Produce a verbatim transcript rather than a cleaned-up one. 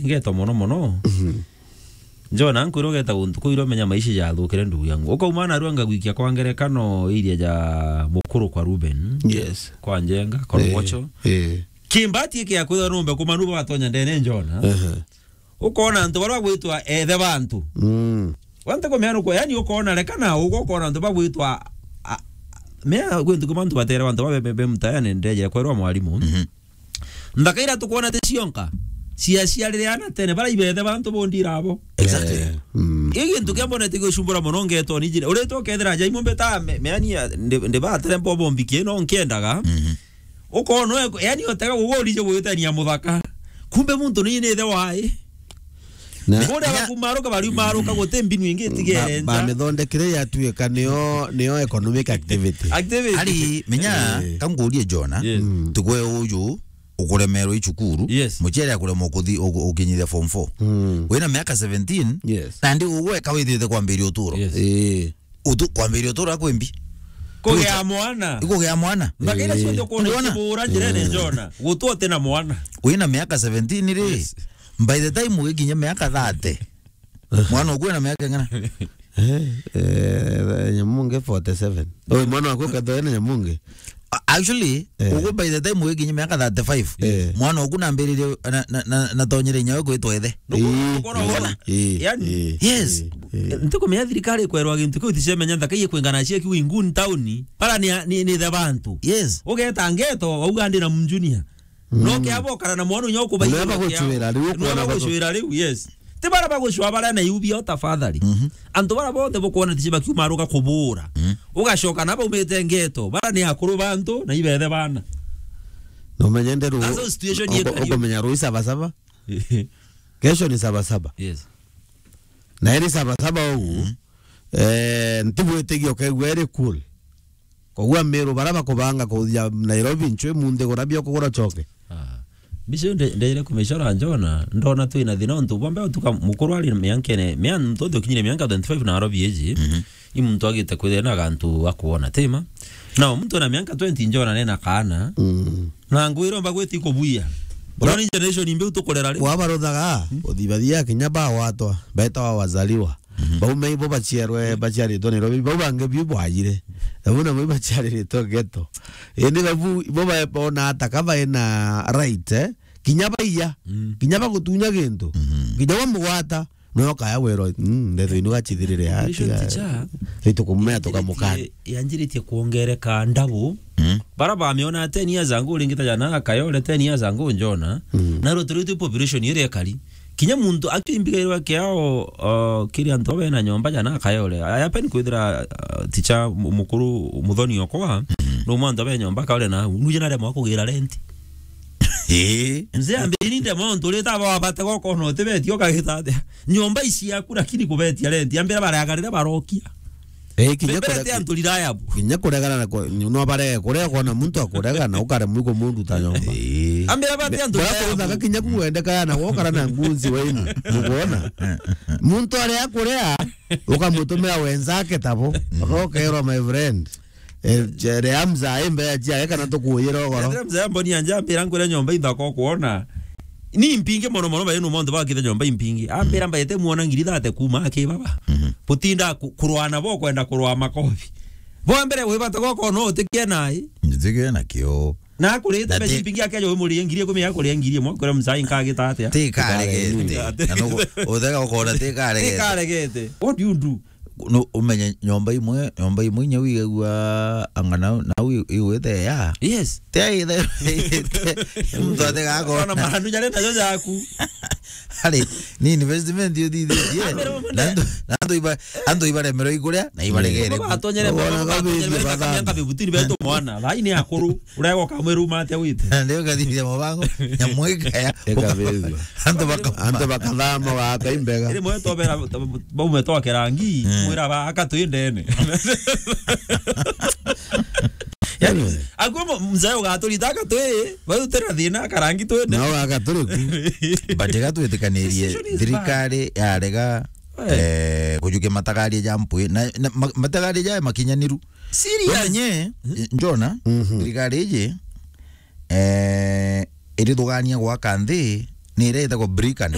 ngeto mono mono. Mhm. Njona, nkwira ugeta guntu kuu iria umenya maisha jathukire ndugu yangu. Ukauma narua ngagwikia kwa ngerekano iria ja mukuru kwa Ruben. Yes. Kwa Njenga, kwa Eh, Rugocho. Eh. Kimbati kia kwithwa numbe kumanu batonya ndene Njona. Aha. Ukona antu baria bagwitwa ethe bantu. Mm. Wante kumea nuko, yani ukona rekana ugo ukona antu bagwitwa, a, mea gwintu kuma antu batere bantu babe, be, be mutayane ndeje kwerwa mwalimu. Mhm. Nthaka iria tukwona ti cionka, ciaciarire ana tene, bara ibethe bantu bondira abo. Exactly. Eh, mm. Ii gintu kia mbonete gigucumbura mono ngeto ni njire. Uritwa ukethira ja imwe mbeta me-, meani ya, ndi, ndi batere mbobo mbiki no nkiendaga. Mhm. Ukona, yani, otega gugurije gwitania muthaka. Kumbe muntu ni, ni ithe wae. Na kuria bakumaruka, bariumaruka, guti mbinu ingi itigere nja. Bamithondekire yatuika niyo, niyo economic activity. Activity. Ari, menya, eh, kangurie Jona, yes, mm, tukwe uju ukuremerwo i cukuru, yes, muciari akuremwa ukuthi-, ugu-, ukinyithia form four. Mm. Wina miaka seventeen, yes, na ndi ugweka withite kwambiria uturo. Yes. Eh. Utu-, kwambiria uturo kwimbi. Kugea mwana. Ikugea mwana. Mbaka iria ciothe ukona ikibura njirene Jona. Gutu uti na mwana. Wina miaka seventeen ri, yes, by the time ugikinya miaka thirty, mwana uku ena miaka ing'ana? Eh, eh, Nyamunge forty-seven. Oi, mwana waku ukethwa ena Nyamunge? A-, actually, eh, ugu by the time ugikinya miaka thirty-five, eh, mwana uku nambiririe na, na, na, natonyere inya we kwitwa ithe. Nukona, eh, nukona, eh, yani, eh, yes, eh, eh. Ntikumenya thirikari ikwerwa gintu kiu iticemenya nthaka iye kwingana cia kiu ingun town. Bara ni, ni, ni the bantu. Yes. Ugeta ngeto, wauga ndi na mjunior. Mm. No ke abo kara na mwana unyo kubai. Neba gucwira riu, neba gucwira riu, yes. Ti bara bagucwa bara na iu bio tafadhali. Mhm. Antu bara bonthe bukwona tici bakiumaruka kubura. Mhm. Ugacoka na baumite ngeto. Bara ni akuru bantu na ibethe bana. No menye nderu. That's how situation yekari. Ukumenya rui saba saba. Kesho ni saba saba. Yes. Na iri saba saba ugu, mhm, eh, ntibwitigia ukaigua iri cool. Koguo Amiru bara bakubanga kuthia Nairobi ncwi munthi gura bio kugura coke. Ah. Mbica iyo nde-, ndeire kumicora Njona, ndona twina thina untu bwa mbere utuka mukuru ari miankene, mia-, muntu ukinyire mianka twenty-five na arobi iji. Mhm. I muntu agite kwithira na gantu akuona tima. Na muntu na mianka twenty Njona nena kaana. Mm. Na ngwira omba gwiti kubuia. Bro, ni generation imbi utukurera ri? Wabaruthaga, mm, uthibathia kinya bawatwa, betawa wazaliwa. Mhm. Bau me ibo baciarwe, baciaritwe Nairobi, bau bangi biu bwajire. Bau namo ibaciariritwe ghetto. Indi babu, ibo ba-, bona ata ka baina right, eh? Kinya baiya, mm, kinya bagutunya gintu. Mhm. Kinya wamugwata, no kaya wero, mm, ndetho inu gachithirire ya, population tiga, teacher, ritu kumea tukamukana. Yanjiritie, yanjiritie kuongereka ndabu. Mm. Bara bamiona ten years ago, ringita jana Kayole, ten years ago Njona. Mm. Na rutiritu population iria ikari. Kinya muntu akimbigirwa kiao, uh, kiri antu bena nyomba jana Kayole. Aya pen kwithira, uh, ticha mu-, mukuru Muthoni okwa, mm, no mwantu be nyomba Kayole na nuje na remo kugira rent. Eh. Mzee ambiri nde muntu rita ba bate goko no tibeti okagita atia. Nyomba ici yaku lakini kubetia rent. Ambira bareagarire barokia. Eh, kinya Bebere kurega-, te antu riraya bu. Kinya kuregana na ku-, no barege kurega kwona muntu akurega na ukaremwa ikumunduta nyomba. Eh. Ambira bate antu riraya bu. Bora kuthaka kinya kuendeka na wokara na ngunzi waini. Mukuona? Muntu aria akurea, ukamutumira wenzake tabo. Ukaokerwa, my friend. Eh, je-, ria mzai mbea ciake kana tukuyira ugoro. Ethira mzee amboni anja ambira nkwire nyomba inthaka kuona. Ni mpingi mono mono, bae no monto bakithe nyomba impingi. Ambira mbaete muona ngiri thate kuma aki baba. Mhm. Butinda ku-, kurwana bo kwenda kurwa makobi. Bo mbere wibata goko no utikie nai. Njitige na kio. Na akurite mbeca impingi ake jo muri ngiri ikumi, akuria ngiri imwe, akuria mzai nkagita atia? Tikaregete. Na no uthega ukona tikaregete. Tikaregete. What do you do? No, umenye nyomba imwe, nyomba imwe inya wigagua anga nau, nau i-, igwite ya. Yes. Te aithe, muntu atega akona. Ona marandu jare najo jaku. Ari, ni investment yo thithitie. Ambere mama na andu, na andu iba, andu ibaremerwo iguria, na ibaregere. Baba atonyere, baba atonyere, baba atonyere, baba atonyere, baba atonyere, baba atonyere, baba atonyere, baba atonyere, Urego kamwe ruma atia wite? Na ndio gathithia mubango, nyamwika ya. Eka bethua. Antu baka-, antu bakathama wa kaimbega. Iri mwe tobera, baume twakera ngi, mm, mwira ba aka twi ndene. Yani, anyway, akuo mzee ugaturita aka twi, bau tera thina akarangi twi ndene. Nao aka turi ku. But iga twitikanirie, decision is bad, thirikari yarega, eh, eh, kujukia matagaria ja mpwi. Na, na ma-, matagaria ja makinyaniru. Serious? Umenye, Njona, mhm, thirikari iji, eh, irithugania gwaka nthi, ni iria itagwo brick and